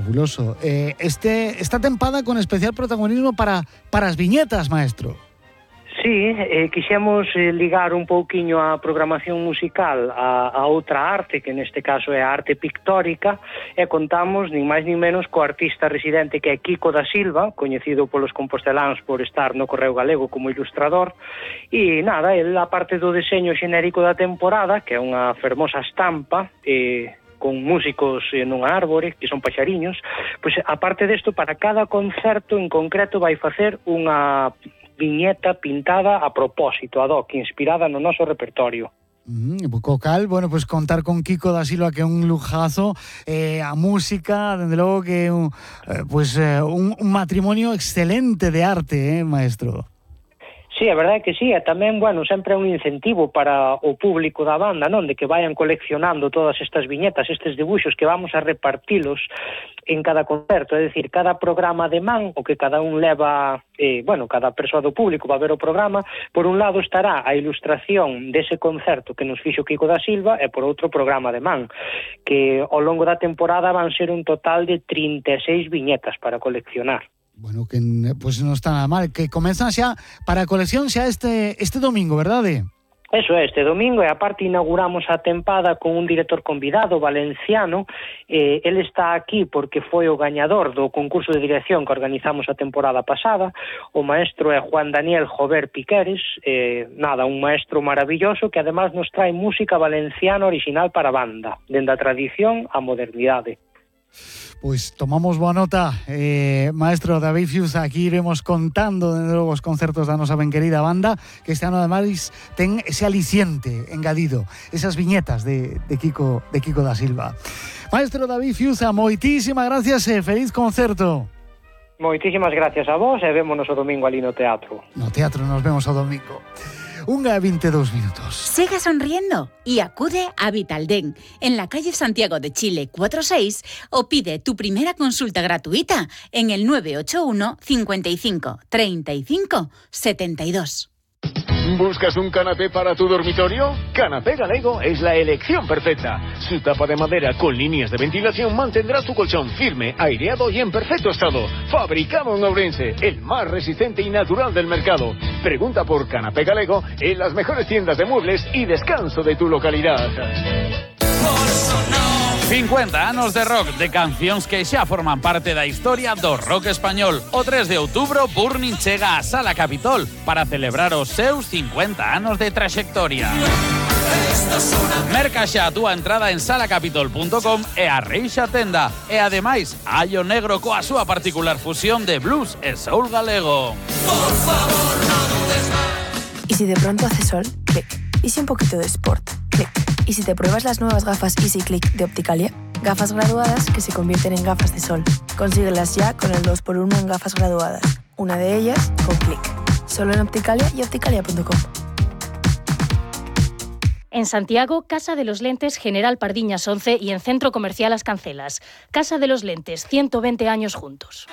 fabuloso. Esta tempada con especial protagonismo para as viñetas, maestro. Sí, quixemos ligar un pouquiño a programación musical a outra arte, que neste caso é a arte pictórica, e contamos nin máis nin menos co artista residente que é Quico da Silva, coñecido polos composteláns por estar no Correo Galego como ilustrador, e nada, el, a parte do deseño xenérico da temporada, que é unha fermosa estampa, con músicos nunha árbore, que son paxariños, pois aparte desto, para cada concerto en concreto vai facer unha viñeta pintada a propósito, ad hoc, inspirada no noso repertorio. Cocal, bueno, pues contar con Quico da Silva, que é un lujazo, a música, dende logo que é un matrimonio excelente de arte, maestro. Sí, a verdade é que sí, e tamén, bueno, sempre é un incentivo para o público da banda, non? De que vayan coleccionando todas estas viñetas, estes dibuixos que vamos a repartilos en cada concerto, é dicir, cada programa de man, o que cada un leva, cada persoa do público va a ver o programa, por un lado estará a ilustración dese concerto que nos fixo Quico da Silva, e por outro programa de man, que ao longo da temporada van ser un total de 36 viñetas para coleccionar. Bueno, que pues non está nada mal, que comezan xa para a colección xa este domingo, verdade? Eso é, este domingo, e aparte inauguramos a tempada con un director convidado valenciano. El está aquí porque foi o gañador do concurso de dirección que organizamos a temporada pasada. O maestro é Juan Daniel Jover Piqueres, un maestro maravilloso que además nos trae música valenciana original para banda, dende a tradición á modernidade. Pois tomamos boa nota, maestro David Fius. Aquí iremos contando de novo os concertos da nosa ben querida banda, que este ano ademais ten ese aliciente engadido, esas viñetas de Quico da Silva. Maestro David Fius, moitísimas gracias e feliz concerto. Moitísimas gracias a vos, e vémonos o domingo ali no teatro. No teatro nos vemos o domingo. 1:22 minutos. Sigue sonriendo y acude a Vitaldent en la calle Santiago de Chile 46 o pide tu primera consulta gratuita en el 981 55 35 72. ¿Buscas un canapé para tu dormitorio? Canapé Galego es la elección perfecta. Su tapa de madera con líneas de ventilación mantendrá tu colchón firme, aireado y en perfecto estado. Fabricado en Ourense, el más resistente y natural del mercado. Pregunta por Canapé Galego en las mejores tiendas de muebles y descanso de tu localidad. 50 anos de rock, de cancións que xa forman parte da historia do rock español. O 3 de outubro, Burning chega a Sala Capitol para celebrar os seus 50 anos de traxectoria. Merca xa a túa entrada en salacapitol.com e a reixa tenda. E ademais, Allo Negro coa súa particular fusión de blues e soul galego. Por favor, no dudes más. ¿Y si de pronto hace sol? Clic. ¿Y si un poquito de sport? Clic. ¿Y si te pruebas las nuevas gafas Easy Click de Opticalia? Gafas graduadas que se convierten en gafas de sol. Consíguelas ya con el 2x1 en gafas graduadas. Una de ellas con Clic. Solo en Opticalia y opticalia.com. En Santiago, Casa de los Lentes General Pardiñas 11 y en Centro Comercial Las Cancelas. Casa de los Lentes, 120 años juntos.